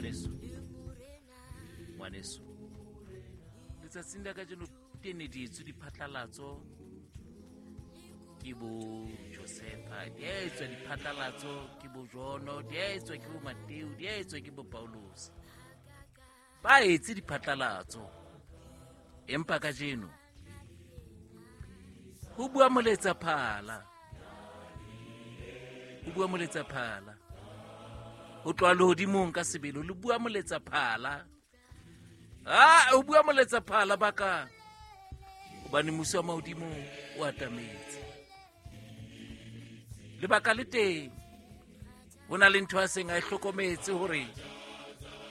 Ngwaneso, ngwaneso, letsatsing la kajeno tene di etswe diphatlalatso ke bo Josefa, di a etswa diphatlalatso ke bo Jono, di a etswa ke bo Mateo, di a etswa ke bo Paulus. Ba etse diphatlalatso, empa kajeno ho bua moletsa phala, ho bua moletsa phala ho tloha lehodimong ka sebele, le bua moletsa phala. Ah, o bua moletsa phala bakang, hobane muso wa mahodimo o atametse. Lebaka le teng, ho na le ntho a seng a e hlokometse hore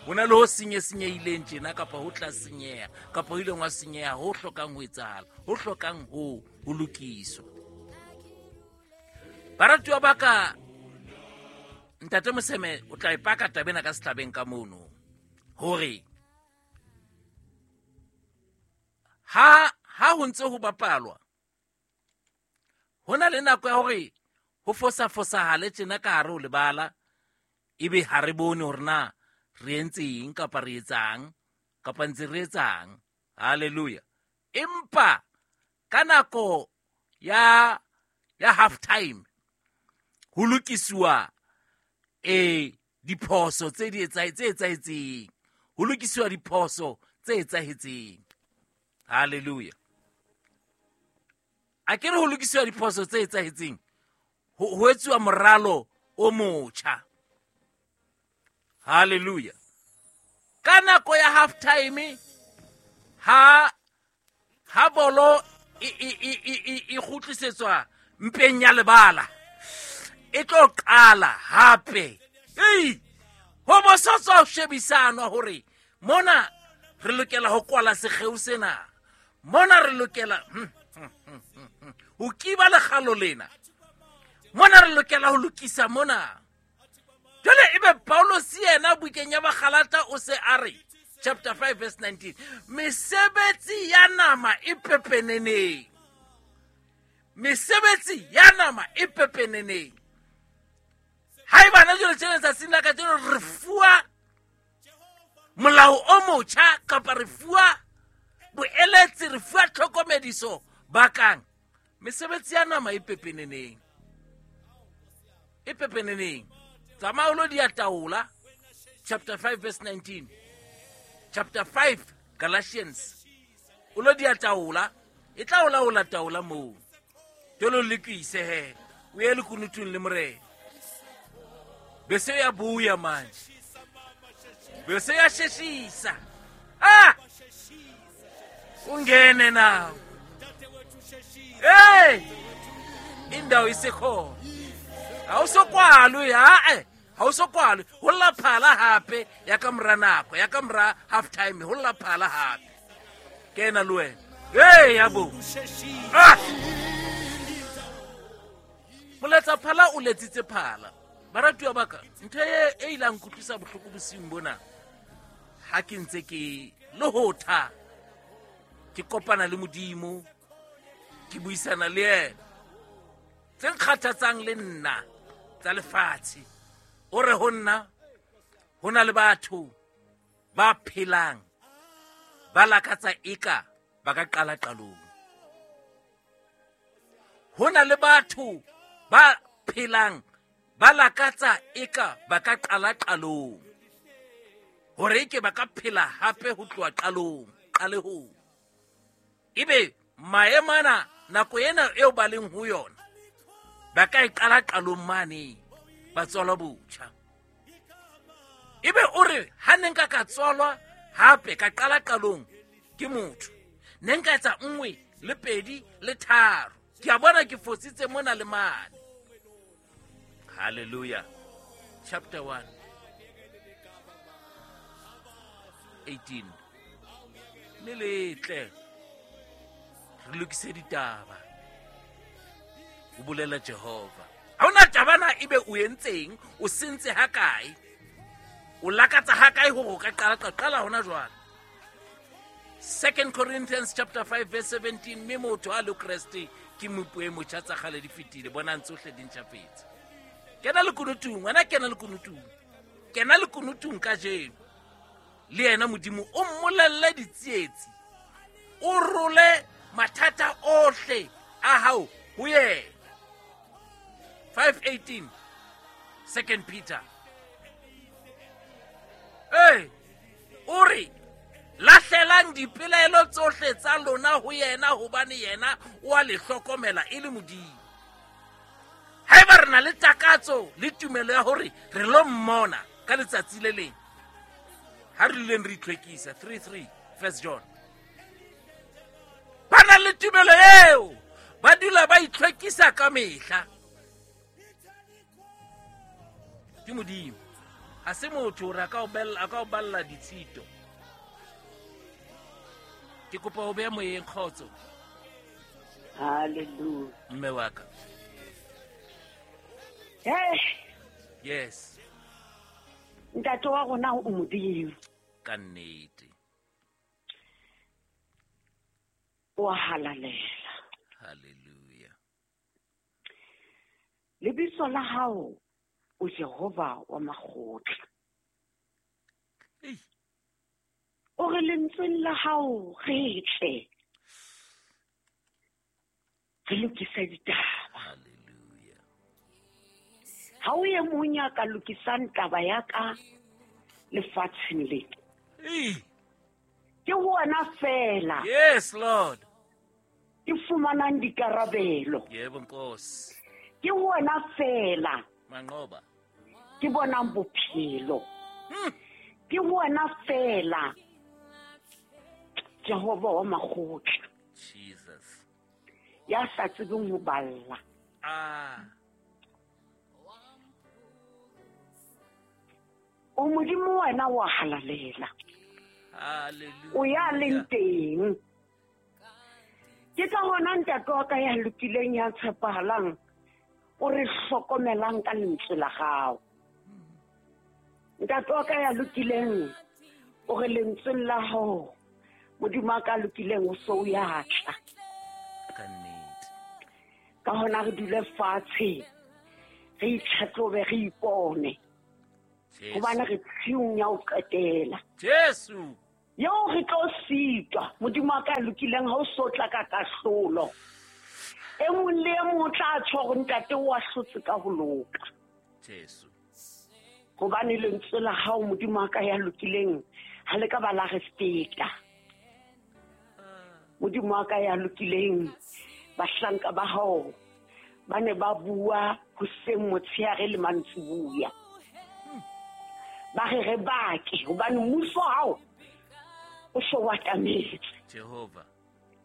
ho na le ho senye-senyehileng tjena, kapa ho tla senyeha, kapa ho ileng wa senyeha, ho hlokang ho etsahala, ho hlokang ho lokiswa. Baratuwa ba ka, Ntate Moseme o tla e paka taba ena ka sehlabeng ka mono, hore ha ho ntse ho bapalwa, ho na le nako ya hore ho fosa-fosahale tjena ka hare ho lebala, ebe ha re bone hore na re entse eng kapa re etsang kapa ntse re etsang. Hallelujah. Empa ka nako ya half time ho lokisiwa diphoso tse di tse etsahetseng, ho lokisiwa diphoso tse etsahetseng. Hallelujah. A ke re ho lokisiwa diphoso tse etsahetseng, ho etsuwa moralo o motjha. Hallelujah. Ka nako ya half time, ha bolo e kgutlisetswa mpeng ya lebala, e tlo qala hape. Ei, ho bo sa tswa ho shebisanwa hore mona re lokela ho kwala sekgeo sena, mona re lokela ho kiba lekgalo lena, mona re lokela ho lokisa mona. Jwale ebe Paulus yena bukeng ya Bagalata o se a re, chapter 5 verse 19, mesebetsi ya nama e pepeneneng, mesebetsi ya nama e pepeneneng. Haeba na jwale tjena tsatsing la kajeno re fuwa molao o motjha, kapa re fuwa boeletsi, re fuwa tlhokomediso bakang mesebetsi ya nama e pepeneneng, e pepeneneng. Tsamaya o lo di taola, chapter 5 verse 19, chapter 5 Galatians, o lo di taola, e tla o laola taola moo. Jwale o lokise he, o ye lekunutung le Morena. Bese ya buya manje, bese ya sheshisa. Ah, ungene nawo. Hey, indawo isekhona. Ha o so kwalwe, ha o so kwalwe. Ho lla phala hape ya ka mora nako, ya ka mora half time, ho lla phala hape. Kena le wena. Hey, ya bo. Ah! Moletsa phala o letsitse phala. Baratuwa ba ka, ntho e ilang nkutlwisa bohloko bosiung bona, ha ke ntse ke lohotha, ke kopana le Modimo, ke buisana le yena, tse nkgathatsang le nna tsa lefatshe. O re ho nna, ho na le batho ba phelang ba lakatsa eka ba ka qala qalong. Ho na le batho ba phelang ba lakatsa eka ba ka qala qalong, hore eke ba ka phela hape ho tloha qalong, qalehong. Ebe maemo ana, nako ena eo ba leng ho yona, ba ka e qala qalong mane, ba tswalwa botjha. Ebe o re, ha ne nka ka tswalwa hape ka qala qalong ke motho, ne nka etsa 1 le 2 le 3. Ke a bona ke fositse mona le mane. Hallelujah. Chapter 1 18. Mme le tle re lokise ditaba, o bolela Jehova. Ha hona taba na ebe o entseng, o sentse ha kae, o lakatsa ha kae hore o ka qala, qala hona jwale. 2 Corinthians chapter 5 verse 17, mme motho a le Kreste ke mopo e motjha, tsa kgale di fetile, bonang tsohle di ntjhafetse. Kena lekunutung, wena kena lekunutung, kena lekunutung kajeno. Le yena Modimo o mmolelle ditsietsi, o role mathata ohle a hao ho yena. 5:18 2 Peter. Ee, o re lahlelang dipelaelo tsohle tsa lona ho yena, hobane yena o a le hlokomela e le Modimo. Haeba re na le takatso le tumelo ya hore re lo mmona ka letsatsi le leng, ha re duleng re itlhwekisa. 3:3 1 John. Ba na le tumelo eo, ba dula ba itlhwekisa ka mehla. Ke Modimo, ha se motho hore a ka o balla ditshito. Ke kopa ho beha moyeng kgotso. Hallelujah. Mme wa ka. Hey. Yes. Ntate wa rona o Modimo. Ka nnete. O halalela. Hallelujah. Lebitso la hao o Jehova wa makgotla. Ei. O re lentsweng la hao re tle, re lokise ditaba. Hallelujah. Ha o ye mong ya ka lokisang taba ya ka lefatsheng le. Ei. Ke wena fela. Yes, Lord. Ke fumanang dikarabelo. Yebo Nkosi. Ke wena fela. Manqoba. Ke bonang bophelo. Ke wena fela. Jehova wa makgotla. Jesus. Ya sa tsebeng ho balla. Ah. O Modimo wena wa halalela. Hallelujah. O ya leng teng. Ke ka hona ntate wa ka ya lokileng ya tshepahalang, o re hlokomelang ka lentswe la hao. Ntate wa ka ya lokileng, o re lentsweng la hao, Modimo wa ka lokileng o so o ya tla. Ka nnete. Ka hona re dule fatshe, re itlhatlhobe, re ipone. Hobane re tshiung ya ho qetela. Jesu. Eo re tlo sitwa, Modimo wa ka lokileng ha o so tla ka kahlolo. E mong le e mong o tla tjho hore ntate o ahlotse ka ho loka. Jesu. Hobane lentswe la hao Modimo wa ka ya lokileng ha le ka ba la re feta. Modimo wa ka ya lokileng, bahlanka ba hao ba ne ba bua hoseng, motshehare le mantsiboya. Ba re re bake hobane mmuso hao o so o atametse. Jehova.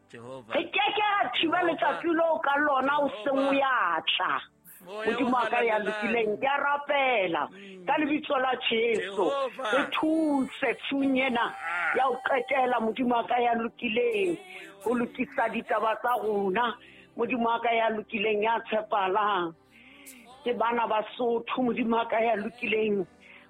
Jehova. Re ke ke ra thiba letsatsi leo ka lona o seng o ya tla. Modimo wa ka ya lokileng, ke a rapela ka lebitso la Jesu. Re thuse tshiung ena ya ho qetela, Modimo wa ka ya lokileng, ho lokisa ditaba tsa rona. Modimo wa ka ya lokileng ya tshepahalang. Ke bana ba Sotho, Modimo wa ka ya lokileng,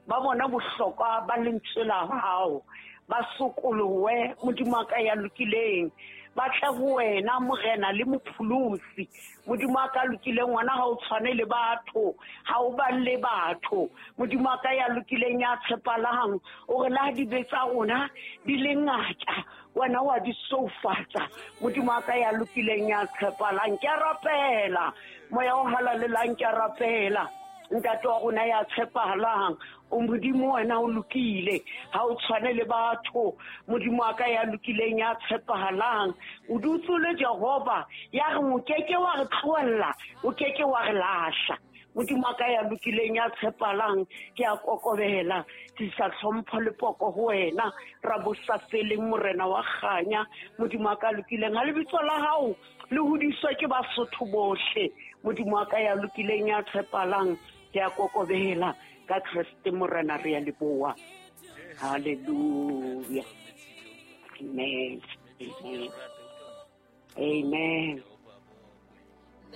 ba bona bohlokwa ba lentswe la hao, ba sokolohe, Modimo wa ka ya lokileng, ba tle ho wena Morena le Mopholosi. Modimo wa ka lokileng, wena ha o tshwane le batho, ha o balle batho. Modimo wa ka ya lokileng ya tshepahalang, o re la dibe tsa rona di le ngata, wena wa di soufatsa. Modimo wa ka ya lokileng ya tshepahalang, ke a rapela, Moya o halalelang, ke a rapela. Ntate wa rona ya tshepahalang, o Modimo wena o lokile, ha o tshwane le batho. Modimo wa ka ya lokileng ya tshepahalang, o dutse le Jehova ya re o keke wa re tlohella, o keke wa re lahla. Modimo wa ka ya lokileng ya tshepahalang, ke a kokobela, tlisa tlhompho le poko ho wena, ra bo sa feleng Morena wa kganya. Modimo wa ka lokileng, ha lebitso la hao le hodiswe ke Basotho bohle. Modimo wa ka ya lokileng ya tshepahalang, ke a kokobela ka Kreste Morena, re a leboha. Hallelujah. Amen. Amen. Amen.